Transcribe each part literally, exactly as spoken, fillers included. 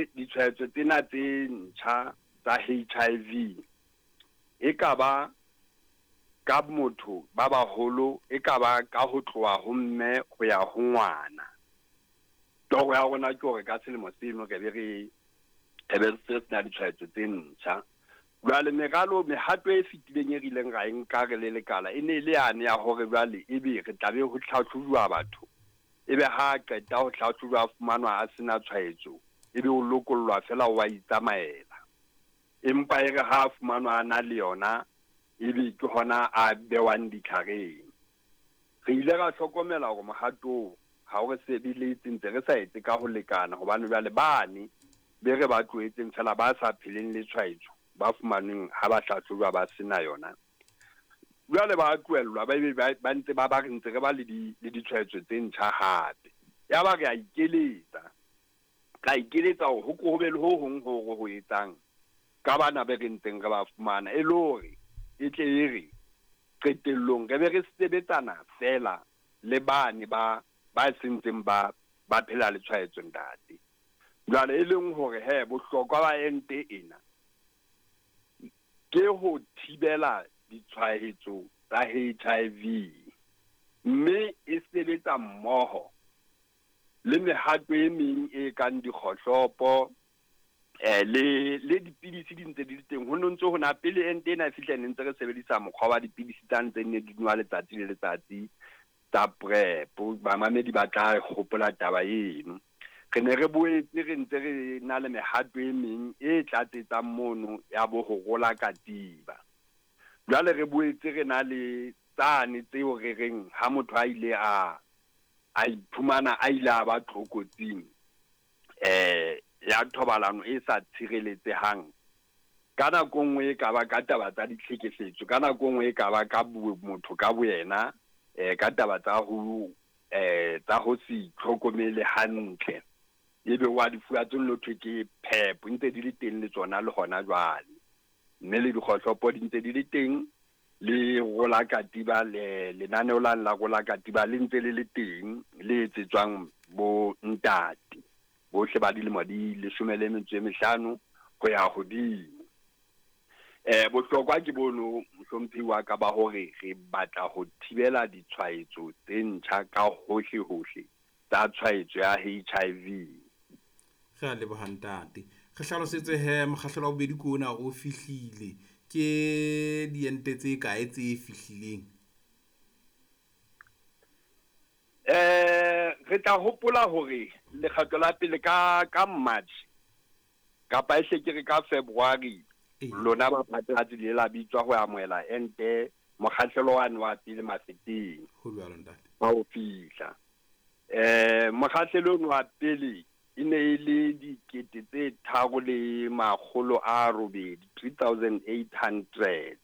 Jwale ditshwaetso tsena tse ntjha tsa H I V e ka ba ka motho ba baholo, e ka ba ka ho tloha ho mme ho ya ho ngwana. Toro ya rona ke hore ka selemo seno re be re re be re se sena ditshwaetso tse ntjha. Jwale meralo mehato e fetileng e re ileng ra e nka re le lekala e ne e le yane ya hore jwale ebe re tla be ho tlhahlojwa batho, ebe ha qeta ho tlhahlojwa a fumanwa a sena tshwaetso, ebe o lokollwa fela wa itsamaela. Empa e re ha a fumanwa a na le yona, ebe ke hona a bewang ditlhareng. Re ile ra hlokomela hore mohato oo ha o re sebeletse, ntse re sa etse ka ho lekana, hobane jwale bane be re ba tlohetseng fela ba sa pheleng le tshwaetso, ba fumanweng ha ba hlahlojwa ba sena yona. Jwale ba tlohellwa, ba ebe ba, ba ntse ba ba re ntse re ba le di, le ditshwaetso tse ntjha hape. Ya ba re a ikeletsa, ra ikeletsa hore ho ko ho be le ho hong ho re ho etsang ka bana be re ntseng re ba fumana, e le hore e tle e re qetellong re be re sebetsana fela le bane ba, ba sentseng ba, ba phela le tshwaetso ntate. Jwale e leng hore he bohlokwa ba ente ena ke ho thibela ditshwaetso tsa H I V, mme e sebetsa mmoho le mehato e meng e kang dikgohlopo, eh, le, le dipidisi di ntse di le teng. Ho no ntso ho na pele ente ena e fihla, ne ntse re sebedisa mokgwa wa dipidisi tsa ntse ne di nwa letsatsi le letsatsi tsa PrEP. Bamamedi ba tla hopola taba eno. Re ne re boetse re ntse re na le mehato e meng e tlatsetsang mono ya bo ho rola katiba. Jwale re boetse re na le tsane tseo re reng ha motho a ile a, a iphumana a ile a ba tlokotsing, eh, ya thobalano e sa tshireletsehang, ka nako nngwe e ka ba ka taba tsa ditlhekefetso, ka nako nngwe e ka ba ka bo-, motho ka boyena, eh, ka taba tsa ho, eh, tsa ho se itlhokomele hantle, ebe wa di fuwa tse nno thwe ke PEP, ntse di le teng le tsona le hona jwale. Mme le dikgohlopo di ntse di le teng, le rola katiba, le lenaneo la la rola katiba le ntse le le teng, le etsetswang bo ntate bohle ba dilemo di leshome le metso e mehlano ho ya hodimo. Eh, bohlokwa ke bono, mohlomphehi wa ka, ba hore re batla ho thibela ditshwaetso tse ntjha ka hohle hohle tsa tshwaetso ya H I V. Re a leboha ntate. Re hlalosetse he mokgahlelo wa bobedi ke ona o fihlile. Ke diente tse kae tse fihlileng? Eh, re tla hopola hore lekgetlo la pele ka, ka March kapa e hle ke re ka February, Ee. lona ba phatlalatsi le la bitswa ho amohela ente mokgahlelo wane wa pele Mafeteng. Ho jwalo ntate. Ba ho fihla. Eh, mokgahlelo ono wa pele e ne e le dikete tse tharo le makgolo a robedi, three thousand eight hundred.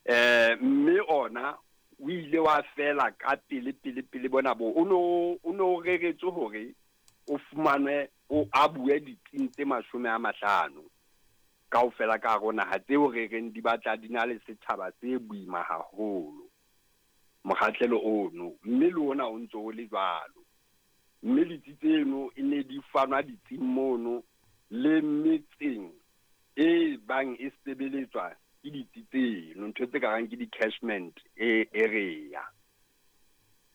Eh, mme ona o ile wa fela ka pele, pele, pele bona bo. O no, o no reretswe hore o fumanwe, o abuwe ditsing tse mashome a mahlano kaofela ka hare ho naha, tseo re reng di batla di na le setjhaba se boima haholo mokgahlelo ono, mme le ona o ntso o le jwalo. Mme ditsi tseno e ne di fanwa ditsing mono le metseng e bang e sebeletswa ke ditsi tseno, ntho tse ka rang ke di-catchment e area.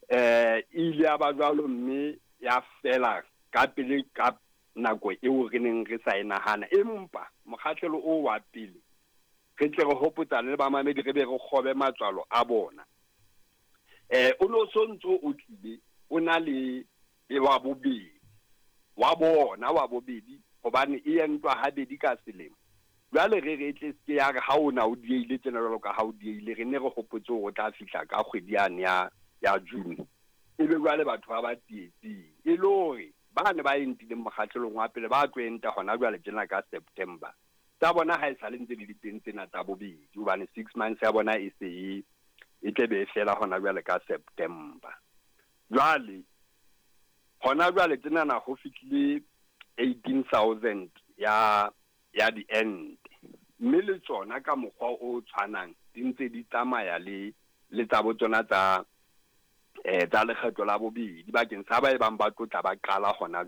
Eh, e ile ya ba jwalo mme ya fela ka pele ka nako eo re neng re sa e nahana. Empa mokgahlelo o wa pele re tle re hopotsane le bamamedi, re be re kgobe matswalo a bona. Eh, o no so ntso o tlile o na le e wa bobedi, wa bona wa bobedi, hobane e entwa habedi ka selemo. Jwale re re tle se ya re ha ona o dieile tjena jwalo ka ha o dieile, re ne re hopotse hore o tla fihla ka kgwedi yane ya, ya June. Ebe jwale batho ba ba tsietsing, e le hore ba ne ba entileng mokgahlelong wa pele ba tlo enta hona jwale tjena ka September. Tsa bona ha e sa le ntse di le teng tsena tsa bobedi, hobane six months ya bona e se e, e tle be e fela hona jwale ka September. Jwale hona jwale tjenana ho fihlile eighteen thousand ya, ya diente, mme le tsona ka mokgwa o tshwanang di ntse di tsamaya le, le tsa bo tsona tsa, eh, tsa lekgetho la bobedi bakeng sa ba e bang ba tlo tla ba qala hona